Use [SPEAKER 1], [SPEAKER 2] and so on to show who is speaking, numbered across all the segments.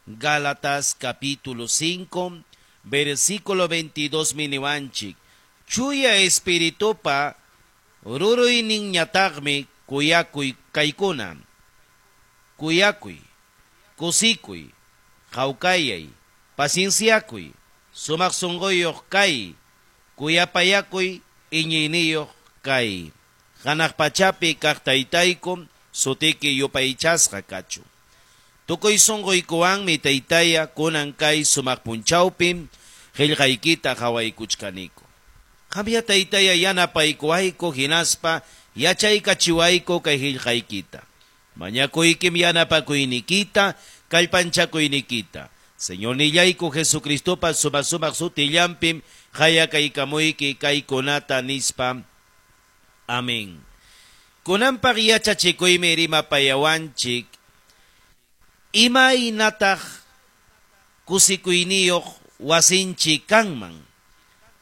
[SPEAKER 1] Gálatas capítulo 5, versículo 22 miniwanchik. Chuya espiritupa ruruyninñataqmi kuyakuy kaykuna. Kuyakuy, kusikuy, hawkayay, pacienciakuy, sumaq sunquyuq kay, kuyapayakuy, iñiyniyuq kay. Hanaq pachapi kaq taytayku, sutiki yupaychasqa kachun. Tukuy sunquykuwanmi taytaya kunan kay sumaq punchawpi qillqaykita qhawaykuchkaniku. Qamya taytaya yanapaykuwayku hinaspa yachaykachiwayku kay qillqaykita. Mañakuykim yanapakuynikita, kallpanchakuynikita. Señornillayku Jesucristopa sumaq sumaq sutillanpim qayakaykamuyki kaykunata nispa. Amén. Kunanpaq yachachikuymi rimapayawanchik imaynataq kusikuyniyuq wasinchik kanman.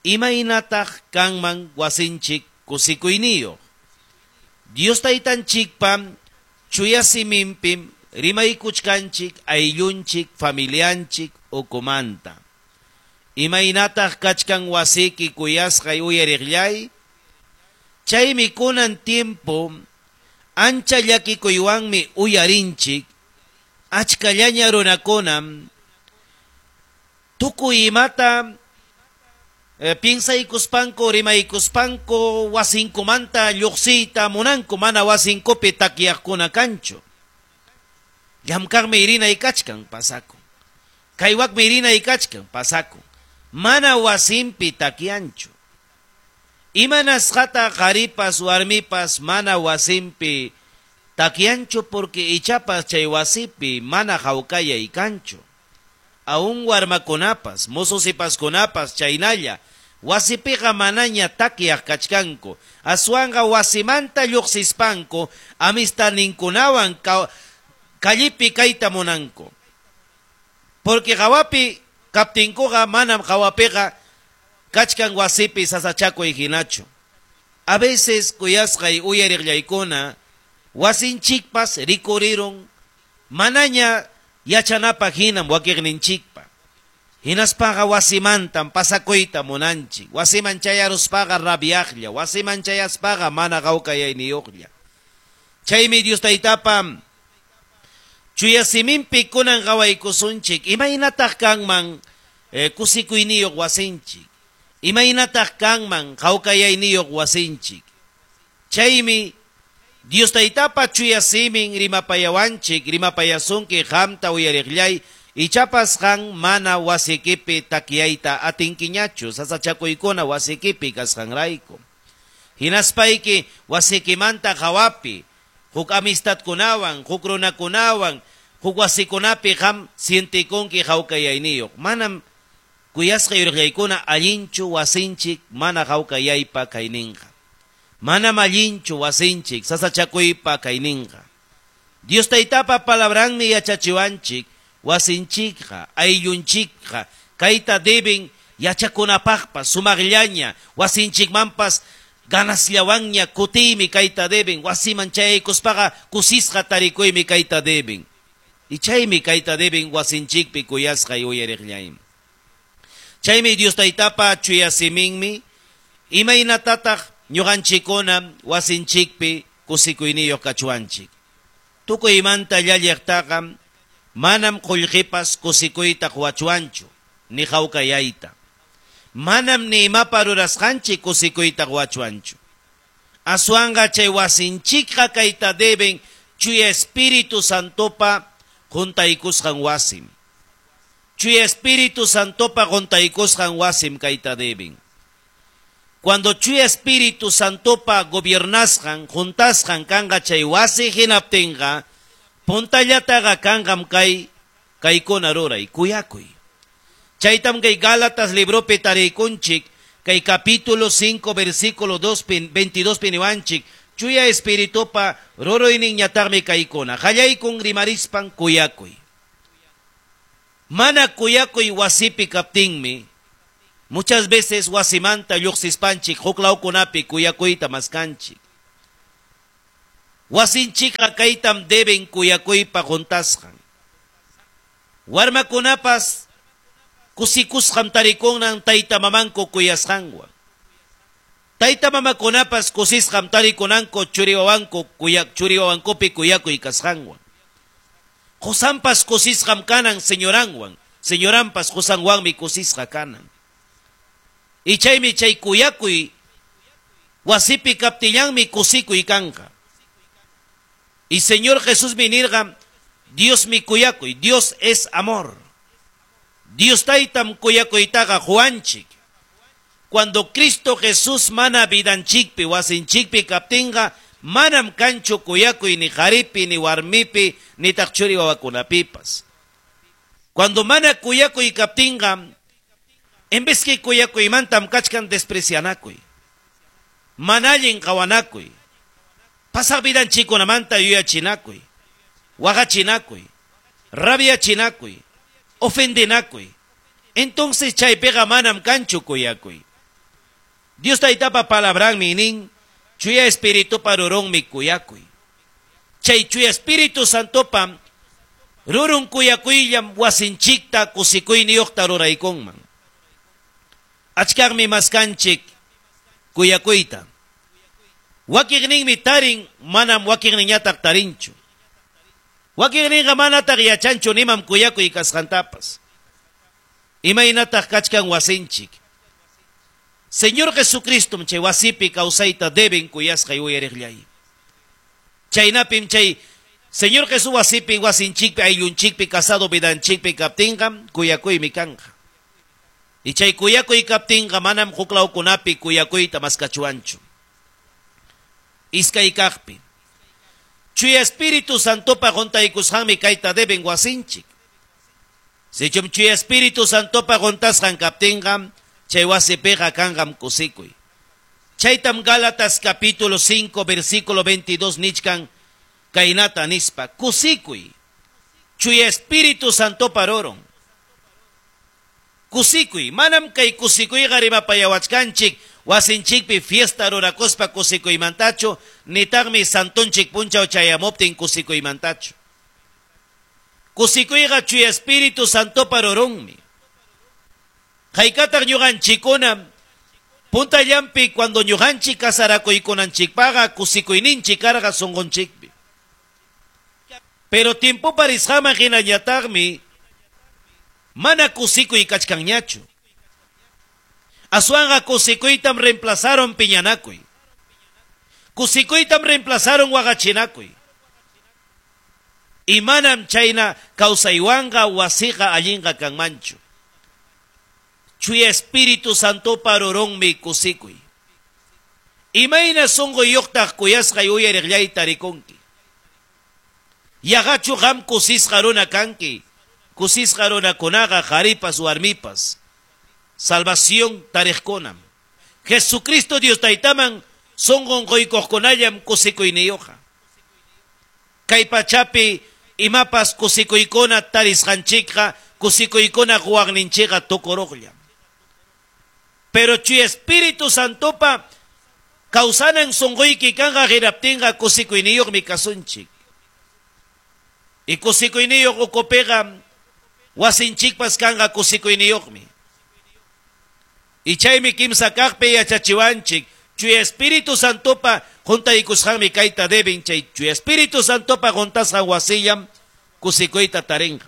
[SPEAKER 1] Imaynataq kanman wasinchik kusikuyniyuq. Dios taytanchikpa chuya siminpim rimaykuchkanchik ayllunchik familianchik ukumanta. Imaynataq kachkan wasiki kuyasqay uyariqllay? Chaymi kunan tiempo ancha llakikuywanmi uyarinchik achkallaña runakunam tukuy imata piensaykuspanku rimaykuspanku wasinkumanta lluqsiyta munanku mana wasinkupi takyaqkuna kanchu. Llamkaqmi rinay kachkan pasakun. Kaywaqmi rinay kachkan pasakun. Mana wasinpi takyanchu. Imanasqata qharipas warmipas mana wasinpi takyanchu porque ichapas chay wasipi mana hawkayay kanchu. Aún warmakunapas, mozosipaskunapas chaynalla wasipiqa manaña takyaq kachkanku. Aswanqa wasimanta lluqsispanku amistadninkunawan kallipi kayta munanku. Porque hawapi kaptinkuqa manam hawapiqa kachkan wasipi sasachakuy hinachu. A veces kuyasqay uyariqllaykuna wasinchikpas rikurirun manaña yachanapaq hinam wakiqninchikpa. Hinaspaqa wasimantam pasakuyta munanchik. Wasiman chayaruspaqa rabiaqlla, wasiman chayaspaqa mana hawkayayniyuqlla. Chaymi Dios taytapa chuya siminpi kunan qawaykusunchik imaynataq kanman kusikuyniyuq wasinchik. Imaynataq kanman hawkayayniyuq wasinchik. Chaymi Dios taytapa chuya simin rimapayawanchik, rimapayasunki qamta uyariqllay, ichapas qan mana wasikipi takyayta atinkiñachu, sasachakuykuna wasikipi kasqanrayku. Hinaspayki wasikimanta hawapi, huk amistadkunawan, huk runakunawan, huk wasikunapi qam sientikunki hawkayayniyuq. Manam kuyasqa yuriqllaykuna allinchu wasinchik mana hawkayaypa kayninqa. Manam allinchu wasinchik sasachakuypa kayninqa. Dios taytapa palabranmi yachachiwanchik wasinchikqa, ayllunchikqa, kayta deben yachakunapaqpas sumaqllaña, wasinchikmanpas ganasllawanña kutiymi kayta deben, wasiman chayaykuspaqa kusisqa tarikuymi kayta deben. Y chaymi kayta deben wasinchikpi kuyasqay uyariqllaymi. Chaymi Dios taytapa chuya siminmi imaynatataq ñuqanchikkuna wasinchikpi kusikuyniyuq kachuanchik. Tukuymanta llalliqtaqa manam qullqipas kusikuyta quwachuanchu, ni hawkayayta. Manam ni imapa rurasqanchik kusikuyta quwachuanchu. Aswanqa chay wasinchikqa kayta deben chuya Espíritu Santopa juntaykusqan wasim. Chuya Espíritu Santopa juntaykusqan wasim kayta deben. Cuando chuya Espíritu Santopa gobiernasqan, juntasqan kanqa chay wasi hinaptinqa, puntallataqa kanqam kay kaykuna ruray, kuyakuy. Chaytam kay Gálatas libropi tariykunchik, kay capítulo 5 versículo 2 22 piniwanchik, chuya Espiritupa ruruyninñataqmi kaykuna, qallaykun rimarispan kuyakuy. Mana kuyakuy wasipi kaptinmi, muchas veces wasimanta lluqsispanchik huklawkunapi kuyakuyta maskanchik. Wasinchikqa kaytam deben kuyakuypa juntasqan. Warmakunapas kusikusqam tarikunan tayta mamanku kuyasqanwan. Tayta mamakunapas kusisqam tarikunanku churiwawanku kuyak churiwawankupi kuyakuy kasqanwan. Qusanpas kusisqam kanan señoranwan, señoranpas qusanwanmi kusisqa kanan. Y chaymi chay kuyakuy wasipi kaptillanmi kusikuy kanqa. Y Señor Jesusmi nirqa, Diosmi kuyakuy, Dios es amor. Dios taytam kuyakuytaqa quwanchik. Cuando Cristo Jesús mana vidanchikpi, wasinchikpi kaptinqa, manam kanchu kuyakuy ni qaripi, ni warmipi, nitaq churi wawakunapipas. Cuando mana kuyakuy kaptinqa, en vez que kuyakuymantam kachkan desprecianakuy, mana allin qawanakuy, pasaq vidanchikkunamanta yuyachinakuy, waqachinakuy, rabiachinakuy, ofendinakuy. Entonces chaypiqa manam kanchu kuyakuy. Dios taytapa palabranmi nin, Chuya Espiritupa rurunmi kuyakuy. Chay Chuya Espíritu Santopa rurun kuyakuyllam wasinchikta kusikuyniyuqta ruraykunman. Achkaqmi maskanchik kuyakuyta. Wakiqninmi tarin, manam wakiqninñataq tarinchu. Wakiqninqa manataq yachanchu nimam kuyakuy kasqantapas. Imaynataq kachkan wasinchik. Señor Jesucristom chay wasipi kawsayta deben kuyasqay uyariqllay. Chaynapim chay Señor Jesús wasipi wasinchikpi ayllunchikpi casado vidanchikpi kaptinqa kuyakuymi kanqa. Y chay kuyakuy kaptinqa manam huklawkunapi kuyakuyta maskachuwanchu. Iskay kaqpi. Chuya Espíritu Santopa huntaykusqanmi kayta deben wasinchik. Sichum Chuya Espíritu Santopa huntasqan kaptinqa chay wasipiqa kanqam kusikuy. Chaytam Gálatas capítulo 5 versículo 22 nichkan kaynata nispa kusikuy. Chuya Espíritu Santopa rurun. Kusikuy, manam kay kusikuyqa rimapayawachkanchik wasinchikpi fiesta rurakuspa kusikuymantachu, nitaqmi santonchik punchaw chayamuptin kusikuymantachu. Kusikuyqa Chuya Espíritu Santopa rurunmi. Haykataq ñuqanchikkuna puntallampi cuando ñuqanchik casarakuykunanchikpaqa kusikuyninchik karqa sunqunchikpi. Pero tiempopa risqaman hinañataqmi mana kusikuy kachkanñachu. Aswanqa kusikuytam reemplazaron piñanakuy. Kusikuytam reemplazaron waqachinakuy. Y manam chayna kawsaywanqa wasiqa allinqa kanmanchu. Chuya Espíritu Santopa rurunmi kusikuy. Imayna sunquyuqtaq kuyasqay uyariqllayta rikunki. Yaqachu qam kusisqa runa kanki. Kusisqa runakunaqa qaripas warmipas. Salvación tariqkunam. Jesucristo Dios taytaman sunqun quykuqkunallam kusikuyniyuqqa. Kay pachapi imapas kusikuykuna tarisqanchikqa kusikuykuna quwaqninchikqa tukuruqllam. Pero Chuya Espíritu Santopa kawsanan sunquyki kanqa hinaptinqa kusikuyniyuqmi kasunchik. Y kusikuyniyuq ukupiqa wasinchikpas kanqa kusikuyniyuqmi. Y chaymi kimsa kaqpi yachachiwanchik Chuya Espíritu Santopa huntaykusqanmi kayta deben chay Chuya Espíritu Santopa huntasqan wasillam kusikuyta tarinqa.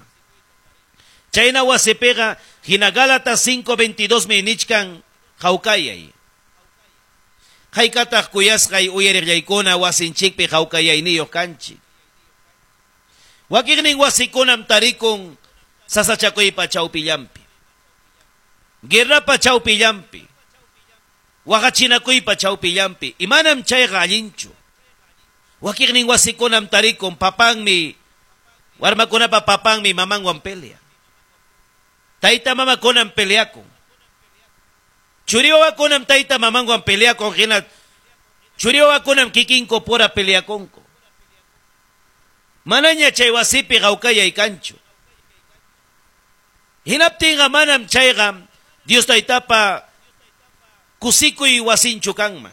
[SPEAKER 1] Chayna wasipiqa hina Gálatas 5:22 mi nichkan hawkayay. Haykataq kuyasqay uyariqllaykuna wasinchikpi hawkayayniyuq kanchik. Wakiqnin wasikunam tarikun sasachakuypa chawpillampi. Guerrapa chawpillampi. Waqachinakuypa chawpillampi. Y manam chayqa allinchu. Wakiqnin wasikunam tarikun papanmi, warmakunapa papanmi mamanwan pelea. Tayta mamakunam peleakun. Churiwawakunam tayta mamanwan peleakun hina churiwawakunam kikinku pura peleakunku. Manaña chay wasipi hawkayay kanchu. Hinaptinqa manam chayqa Dios taytapa kusikuy wasinchu kanman.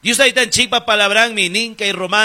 [SPEAKER 1] Dios taytanchikpa palabranmi nin kay Romano